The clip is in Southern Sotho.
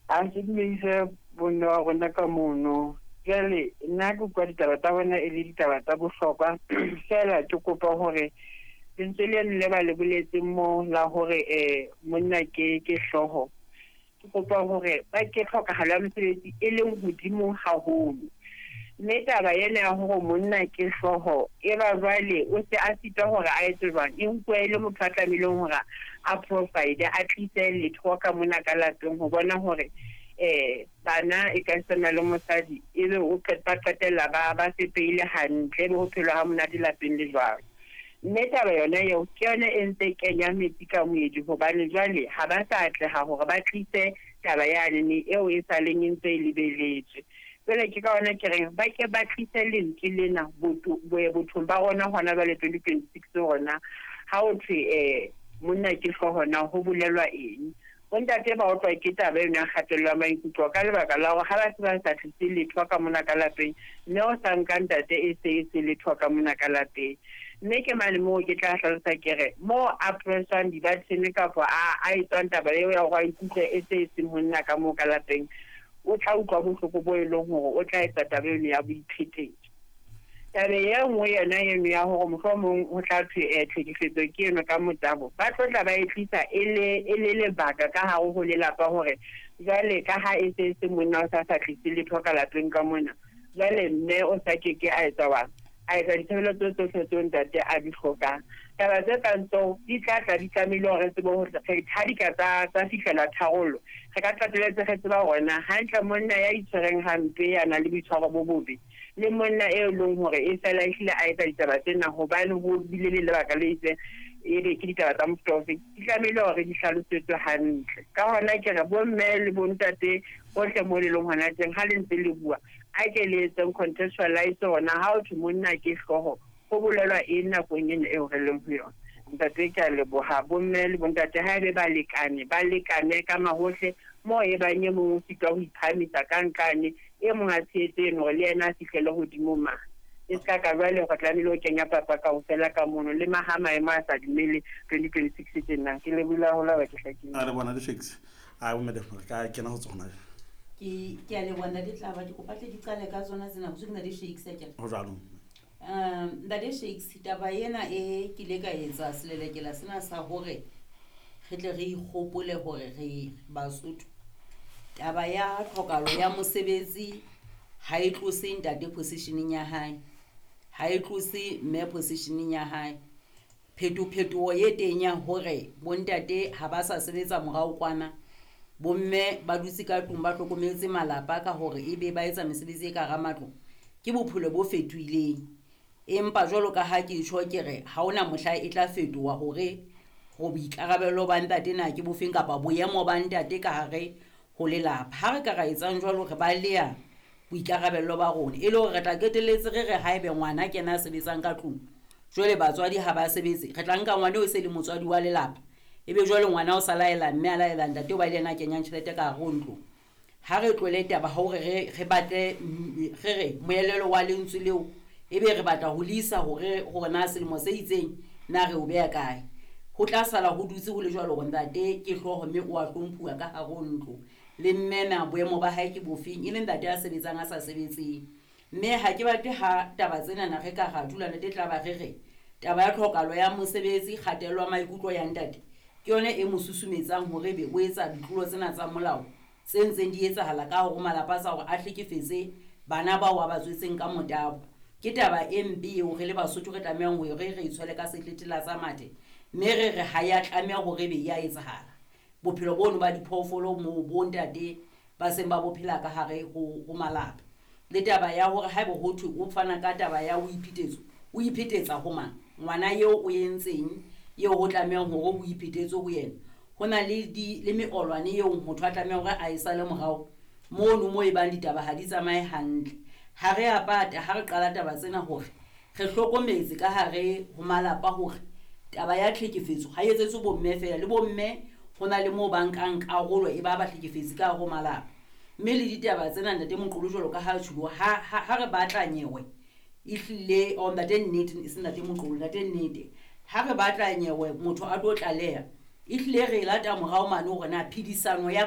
A ke dumedise bomme wa rona ka mono. Jwale nna ke utlwa ditaba tsa bona e le ditaba tsa bohlokwa. Feela ke kopa hore lentswe leno le ba le boletseng mo la hore monna ke hlooho. Ke kopa hore ba ke tlhokahalo ya mosebetsi e leng hodimo haholo. Mme taba ena ya hore monna ke hlooho e ba jwale o se a sitwa hore a etse jwang, e nkuwa e le motho a tlamehileng hore a provide, a tlise letho ka mona ka lapeng ho bona hore bana e ka sena le mosadi ebe o ba qetella ba fepehile hantle, ebe ho phelwa ha monate lapeng le jwalo. Mme taba yona eo ke yona e ntse kenya metsi ka moedi, hobane jwale ha ba sa atleha hore ba tlise taba yane eo e saleng e ntse e lebeletswe. Jwale ke ka hona ke reng ba ke ba tlise lentswe lena bothong ba rona hona jwale 2026 rona, ha ho thwe monna ke hlooho na ho bolelwa eng. Bontate ba otlwa ke taba eno ya kgatello ya maikutlo ka lebaka la hore ha ba se ba sa tlise letho ka mona ka lapeng, mme o sa nka ntate e se e se letho ka mona ka lapeng. Mme ke mane moo ke tla hlalosa ke re moo a pressang di-button kapa a etswang taba eo ya hore a ikutlwe e se e seng monna ka moo ka lapeng, o tla utlwa bohloko bo e leng hore o tla etsa taba eno ya boiphetetso. Taba e nngwe yona eno ya hore mohlomong ho tla thwe tlhekefetso ke eno ka motabo, ba tlo tla ba e tlisa e le lebaka ka hare ho lelapa hore jwale ka ha e se e se monna o sa tlise letho ka lapeng ka mona, jwale mme o sa keke a etsa wa a etsa ditshebeletso tsohle tseo ntate a di hlokang. Taba tse kang tseo di tla tla di tlamehile hore re tsebe hore ha di ka tsa fihlela tharollo, re ka qetelletse re tseba hore na hantle monna ya itshwereng hampe, ya nang le boitshwaro bo bobe, le monna e leng hore e fela ehlile a etsa ditaba tsena hobane ho bile le lebaka le itseng, ebe ke ditaba tsa mofuta ofe, di tlamehile hore di hlalosetswe hantle. Ka hona ke re bomme le bontate bohle mo le leng hona teng, ha le ntse le bua, a ke le etseng contextualize hona ha ho thwe monna ke hlooho, ho bolelwa eng nakong ena eo re leng ho yona. Ntate, ke a leboha. Bomme le bontate ha ebe balekane, ba lekane ka mahohle moo e bang e mong o sitwa ho iphahamisa ka nqane, e mong a tshehetse eno hore le yena a fihlele hodimo mane. E ska ka jwale re tlamehile ho kenya papa kaofela ka mono, le maha maemo a sa dumele 2026 tjena. Ke lebohile haholo ha ba ke hlakile. A re bona di-shakes. A bo madam, re ka kena ho tsona. Ke a leboha ntate Tlaba, ke kopa tle ke qale ka tsona tsena, ho ke ntate Shakes akere. Ho jwalo. Ntate Shakes, taba ena e ke ile ka etsa selelekela sena sa hore re tle re ikgopole hore re Basotho. Taba ya tlhokahalo ya mosebetsi ha e tlose ntate positioneng ya hae, ha e tlose mme positioneng ya hae. Phetophetoho e teng ya hore bontate ha ba sa sebetsa morao kwana, bomme ba dutse ka tlung ba hlokometse malapa ka hore ebe ba etsa mesebetsi e ka hara matlo, ke bophelo bo fetohileng. Empa jwalo ka ha ke tjho ke re ha hona mohla e tla fetoha hore ho boikarabelo ba ntate na ke bofeng kapa boemo ba ntate ka hare ho lelapa. Ha re ka ra etsang jwalo, re baleha boikarabelo ba rona, e le hore re tla qetelletse re re haebe ngwana ke yena a sebetsang ka tlung, jwale batswadi ha ba sebetse, re tla nka ngwana eo e se le motswadi wa lelapa, ebe jwale ngwana o sa laela mme a laela ntate o ba le yena a kenyang tjhelete ka hare ho ntlo. Ha re tlohele taba hore re batle, re re moelelo wa lentswe leo, ebe re batla ho le isa hore na selemo se itseng na re o beha kae. Ho tla sala ho dutse ho le jwalo hore ntate ke hlooho mme o a hlomphuwa ka hare ho ntlo, le mme na boemo ba hae ke bofeng, e le ntate a sebetsang a sa sebetseng. Mme ha ke batle ha taba tsena na re ka ra dula ntate tla ba re re taba ya tlhokahalo ya mosebetsi, kgatello ya maikutlo ya ntate ke yona e mo susumetsang hore ebe o etsa ditlolo tsena tsa molao tse ntseng di etsahala ka hore malapa a sa hore a hlekefetse bana bao a ba tswetseng ka motabo. Ke taba e mpe eo re le Basotho re tlamehang hore re itshwele ka setlethela sa mathe, mme re re ha ya tlameha hore ebe ya etsahala. Bophelo bono ba diphoofolo moo bontate ba seng ba bophela ka hare ho malapa. Le taba ya hore haeba ho thwe o fana ka taba ya ho iphetetso, o iphetetsa ho mang? Ngwana eo o entseng eo ho tlamehang hore ho iphetetswe ho yena. Ho na le di le meolwane eo motho a tlamehang hore a e sale morao mono mo e bang ditaba ha di tsamaye hantle. Ha re a pata ha re qala taba tsena hore re hlokometse ka hare ho malapa hore taba ya tlhekefetso ha e etsetswe bomme feela, le bomme ho na le moo ba nkang karolo e ba ba hlekefetsi ka hare ho malapa. Mme le ditaba tsena ntate Moqolo jwalo ka ha tjhulo, ha re batla nyewe ehlile, oh, ntate nnete, e se ntate Moqolo, ntate nnete, ha re batla nyewe motho a tlo tlaleha, ehlile re lata morao mane hore na phedisano ya ba